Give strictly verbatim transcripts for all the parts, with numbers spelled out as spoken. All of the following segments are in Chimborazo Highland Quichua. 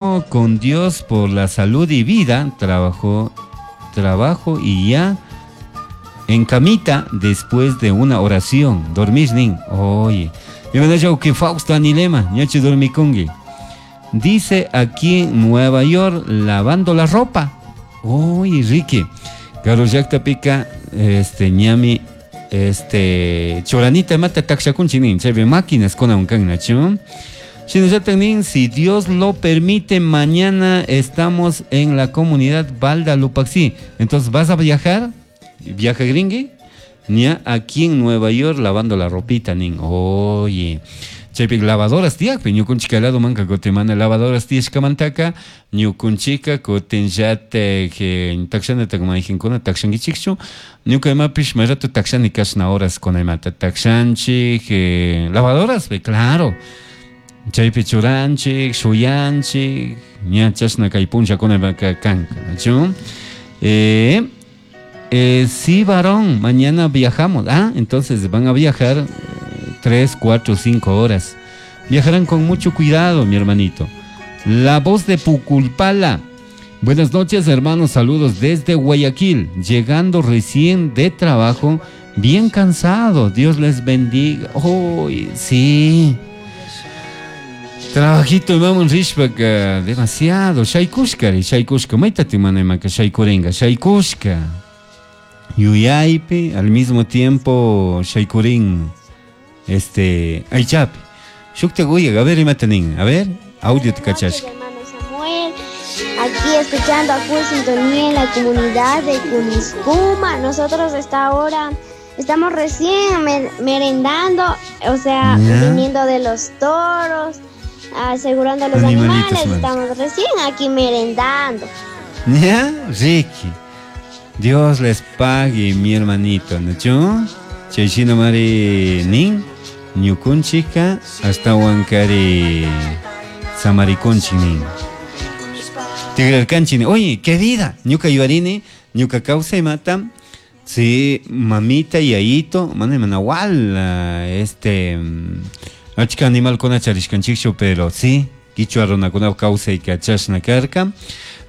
Con Dios por la salud y vida, trabajó, trabajo y ya en camita después de una oración. Dormir nin. Oye, que Fausto Anilema, ñachi dormikungi. Dice aquí en Nueva York lavando la ropa. Oye, Ricky. Karu pica este ñami este choranita mata takshakunchi nin, chaypi máquinas con un kan nachu. Si Dios lo permite, mañana estamos en la comunidad Balda Lupaxi. Entonces, ¿vas a viajar? ¿Viaja gringui? Ña aquí en Nueva York lavando la ropita, nin. Oye. Chaypi lavadoras tiyakpi ñukunchika lado manka kutin mana lavadoras tiyashkamantaka ñukunchika kutinllatik takshanata mayqinkuna takshankichikchu ñuka imapish may rato takshani kashna horas kuna imata takshanchik lavadoras claro chaypi churanchik shuyanchik ña chashna kay punllakuna kanka nachu. Eh, eh, sí, varón, mañana viajamos. Ah, entonces van a viajar tres, cuatro, cinco horas. Viajarán con mucho cuidado, mi hermanito. La voz de Puculpala. Buenas noches, hermanos. Saludos desde Guayaquil. Llegando recién de trabajo, bien cansado. Dios les bendiga. Oh, sí. Trabajito, vamos, rishpaka, demasiado. Shaykushkari, shaykushka. Maytati manaymanka shaykuringa, shaykushka. Yuyaypi, al mismo tiempo, shaykurin. Este, aychapi. Shukta guya, a ver, imata nin. A ver, audio te cachashka. Hermano Samuel, aquí escuchando a full sintonía en la comunidad de Cuniscuma. Nosotros hasta ahora estamos recién mer merendando, o sea, ¿ya? Viniendo de los toros, asegurando a los animales. Estamos recién aquí merendando. ¿Ya? Ricky. Dios les pague, mi hermanito, ¿no? Chayshina mari nin, ñukunchika hasta huancari samarikunchik nin. Tigrarkanchik nin. Oye, qué vida. Ñuka yuarini, ñuka kawsaymata, sí, mamita y yayito, mana manawal, este, achka animalkuna charishkanchikchu, pero sí, kichwa runakuna kawsayka chashna karka.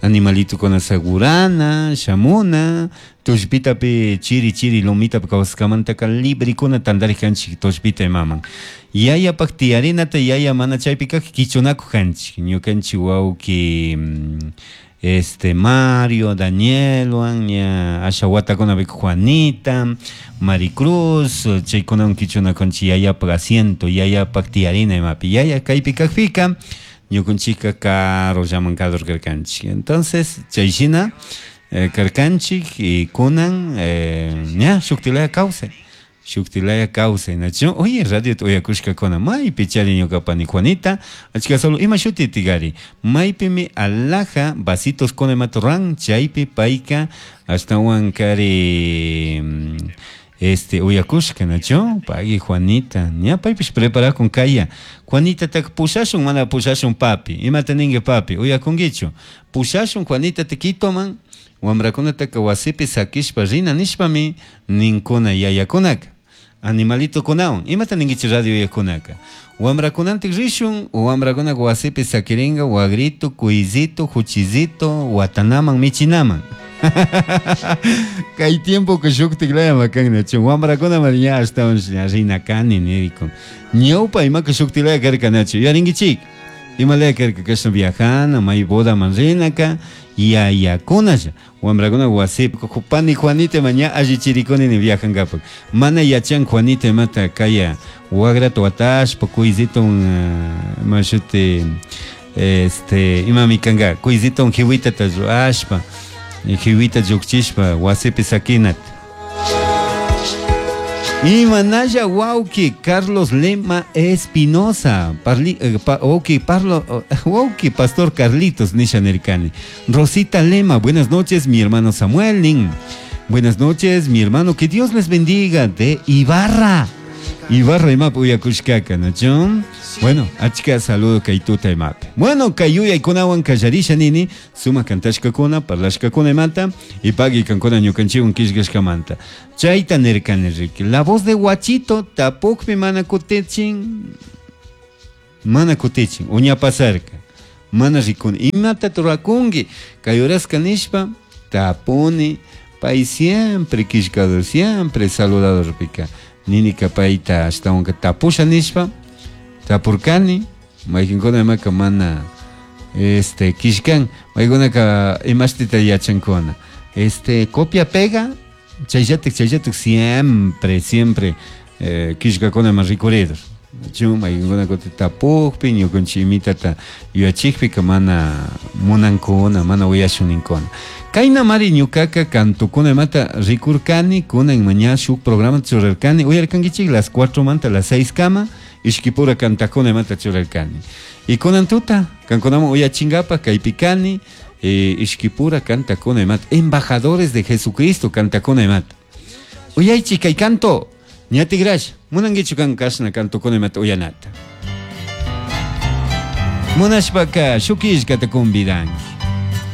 Animalitukuna segurana, shamuna, tushpitapi chiri chiri lumitapi kawsaskamantaka librikuna tantarikanchik tushpita imaman. Yayapak tiyarinata yaya mana chaypi kak kichunakuq kanchik, ñukanchik wawki este Mario, Danielwan, ña asha watakunapi Juanita, Maricruz, chaykunawan kichunakunchik yayapak asiento, yayapak tiyarina imapi. Yaya kaypi kakpika ñukunchika karullaman kadurkarkanchik. Entonces, chayshina eh, karkanchik y kunan eh, ña shuktilaya kawsay. Shuktilaya kawsay, nachu. Oye, radio uyakushkakuna maypi chari ñuka pani Juanita, achka solo ima shuti tigari. Maypimi alhaja vasitos con ruran, chaypi payka ashtawan kari este uyakushka, nachu, pagui Juanita, ña paypish preparakun kaya. Juanita tak pushashun mana pushashun papi, imata ninki papi, uyakunkichu. Pushashun Juanita te Quitoman, wamrakunataka wasipi sakishpa rina nishpami ninkuna yayakunaka. Animalitokunawan, imata ninkichik radio uyakunaka. Wamrakunantik rishun, wamrakunaka wasipi sakirinka wagrito, kuyzito, huchizito, watanaman, michinaman. Kay tiempo que shuktiklaya makan nachu wamrakuna ña ashtawan rina kani nirikun. Ñawpa imaka shuktilaya karka nachu yuyarinkichik. Imalaya karka kashna viajana, may bodaman rinaka, yayakunalla. Wamrakuna wasipi pani Juanita ma ña allichirikuni ni viajankapak. Mana yachan Juanita imata kaya wagrata watashpa kuyzito ima shuti este imami kanka kuyzito jiwitata ruashpa. Jiwita llukchishpa wasipi sakinat. Imanalla wawki Carlos Lema Espinosa, parli, eh, pa, wawki, parlo, wawki Pastor Carlitos nisha nirkani. Rosita Lema, buenas noches, mi hermano Samuel nin. Buenas noches, mi hermano, que Dios les bendiga de Ibarra. Ibarra imap uyakushkaka, ¿no? Bueno, achka saludo kaytuta imap. Bueno, kayuyaykunawan kallarisha nini, suma kantashkakuna, parlashkakuna imanta, y pagui kankuna ñukanchikwan killkashkamanta. Chayta nirkani riki. La voz de Guachito, tapukpi mana kutichin, mana kutichin, uña pasarka. Mana rikuni. Imata rurakunki? Kay horaska nishpa tapuni pay siempre killkador, siempre saludador pika. Ninika payta ashtawanka tapusha nishpa tapurkani mayqinkuna imaka mana este killkan maykunaka imashtita yachankuna. Este copia pega chayllatik chayllatik siempre siempre eh, killkakuna ma rikuridur. Chu mayqinkuna kutin tapukpi ñukanchik imitata yuyachikpika mana munankuna mana uyashuninkuna. Kaynamari ñukaka kantukuna imata rikurkani kunan maña shuk programa churarkani uyarkankichik las cuatro manta las seis kama ishkipura kantakuna imata churarkani. Y kunan tuta kankunaman uyachinkapak kaypi kani eh, ishkipura kantakuna imata embajadores de Jesucristo kantakuna imata. Uyaychik kay kanto ñatigrash munankichu kan kashna kantukuna imata uyanata. Munashpaka shuk killkata convidanki.